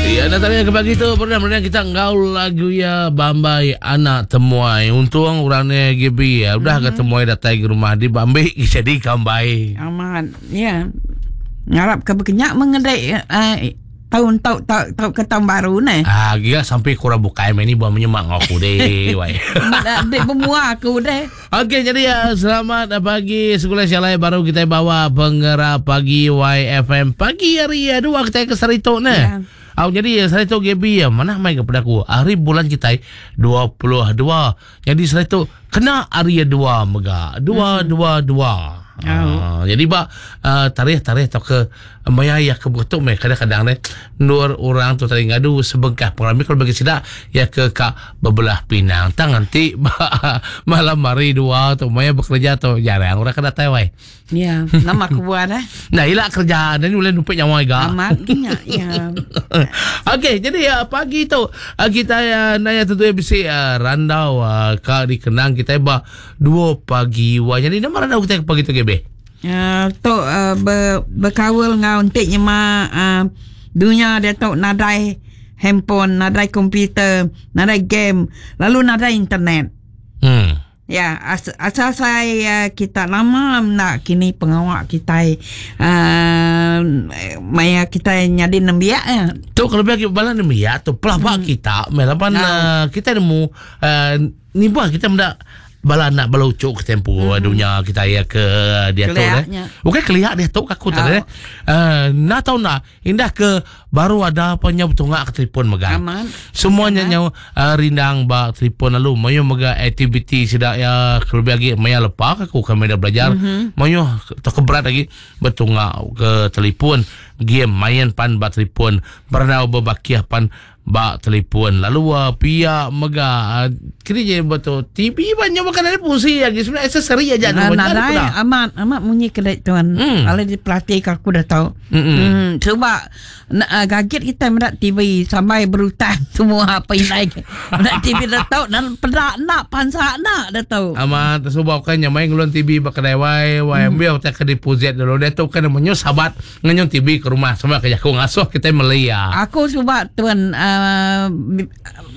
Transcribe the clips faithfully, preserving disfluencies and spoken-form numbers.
Ya, Natalia ke pagi tu pernah pernah kita ngau lagu ya Bambai Anak Temuai. Untung orang ni G B ya, udah mm-hmm. ke temuai datang ke rumah di Bambi jadi kambai. Amat. Ya. Ngarap ke bekenyak mengedek uh, tahun tau tau tau ke tahun baru ni. Ah, gila sampai kurang bukai main ni buat menyemak aku deh. Wai. Dek bermua aku deh. Okey, jadi ya selamat pagi sekolah syalai baru kita bawa pengerah pagi Y F M pagi hari ya dua kita ke Sarito ni. Ya. Au jadi saya tu G B ya mana mai kepada aku hari bulan kita dua puluh dua. Jadi saya tu kena hari dua mega. Dua hmm. dua dua. Oh. Uh, jadi ba uh, tarikh-tarikh atau ke maya ya ke betul me kadang-kadang ne nur orang tu tadi ngadu sebengkah pengalaman kalau bagi sidak ya ke ka bebelah pinang tang nanti malam hari dua tu maya bekerja tu jarang orang kena tewai. Ya, nama aku buat eh. Nah, ilak kerja dan boleh numpik nyawa juga. Amat gina ya. Okey, jadi ya pagi tu kita ya nanya tentu bisi uh, randau uh, ka dikenang kita ba dua pagi wa. Jadi nama randau kita pagi tu G B. Uh, tu uh, ber, berkawal ngau entik nyema uh, dunia dia tu nadai handphone, nadai komputer, nadai game, lalu nadai internet. Hmm. Ya, as, asal saya kita lama nak kini pengawak kita uh, maya kita nyadi nembiak ya. Tu kalau bagi bala nembiak tu pelabak hmm. kita, melapan no. uh, kita nemu uh, ni buah kita mendak bala nak bala ucuk ke tempo mm-hmm. dunia kita ya ke dia tu eh. Bukan kelihat dia tu aku tak eh. Uh, nak tahu nak indah ke baru ada apa nya betungak ke telefon megang. Aman. Semuanya nya uh, rindang ba telefon lalu mayu mega aktiviti sedak ya lebih lagi maya lepak aku kami dah belajar. Mm-hmm. Mayu tak berat lagi betungak ke telefon game main pan ba telefon bernau berbakiah pan bak telefon lalu uh, pihak mega uh, kini je betul T V banyak makan ada fungsi lagi sebenarnya aksesori aja nah, nah, nah, amat amat bunyi kedai tuan hmm. kalau dipelatih aku dah tahu hmm. hmm sebab uh, gaget kita mendak T V sampai berhutang semua apa yang naik mendak T V dah tahu dan pedak nak pansak nak dah tahu amat sebab kan yang main ngelon T V bakadai wai wai hmm. ambil tak ke deposit dulu dia tu kan menyu sahabat ngenyong T V ke rumah sama kerja aku ngasuh kita melia aku sebab tuan uh, Uh,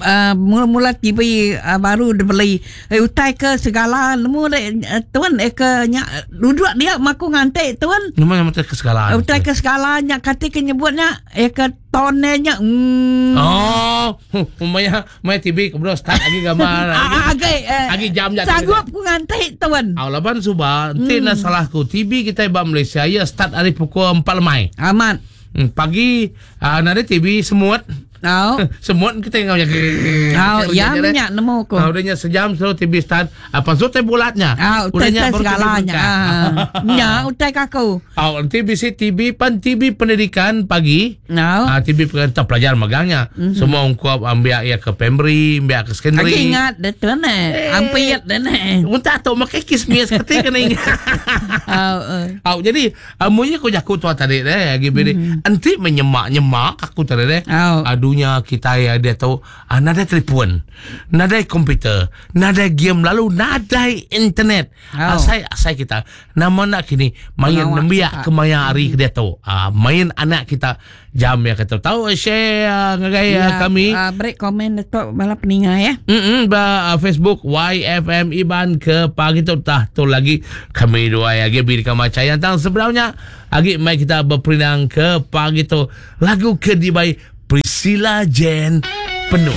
uh, mula-mula T V uh, baru dibeli eh, utai ke segala nemu uh, tuan eh ke nyak duduk dia maku ngantik tuan nemu nama ke segala uh, utai ke segala nyak kata ke nyebutnya eh ke tonenya mm. Oh maya maya T V kemudian start lagi gambar lagi lagi jam jam sanggup ku ngantik tuan aw laban suba enti hmm. nak salahku T V kita ba Malaysia ya start hari pukul empat lemai amat hmm, pagi uh, nanti T V semut. Oh. Semut kita yang jaga. Oh, ya minyak nemu ko. Ah, udahnya sejam selalu T V start. Apa so teh bulatnya? Ah, udahnya segalanya. Ah. Nya utai kaku. Ah, nanti bisi T V pan T V pendidikan pagi. No. Ah, T V pendidikan pelajar magangnya. Mm-hmm. Semua ungkup ambil ya ke primary, ambil ke secondary. Aku ingat dah tu ne. Ampiat dah ne. Unta tu makai kismis ketika kena ingat. Oh, uh. Oh, jadi amunya ko jaku tua tadi deh, lagi beri. Enti menyemak-nyemak aku tadi deh. Oh. Dunia kita ya dia tahu ah, nadai telefon, nadai komputer, nadai game lalu nadai internet. Oh. Asai asai kita nama nak kini main nembiak ke maya hari hmm. dia tahu. Ah, main anak kita jam ya kata tahu share ngagai ya, kami. Uh, break komen detok bala peninga ya. Mm ba uh, Facebook Y F M Iban ke pagi tu tah tu lagi kami dua ya G B di kamar cahaya tang sebenarnya agi mai kita berperinang ke pagi tu lagu ke dibai Priscilla Jane penuh.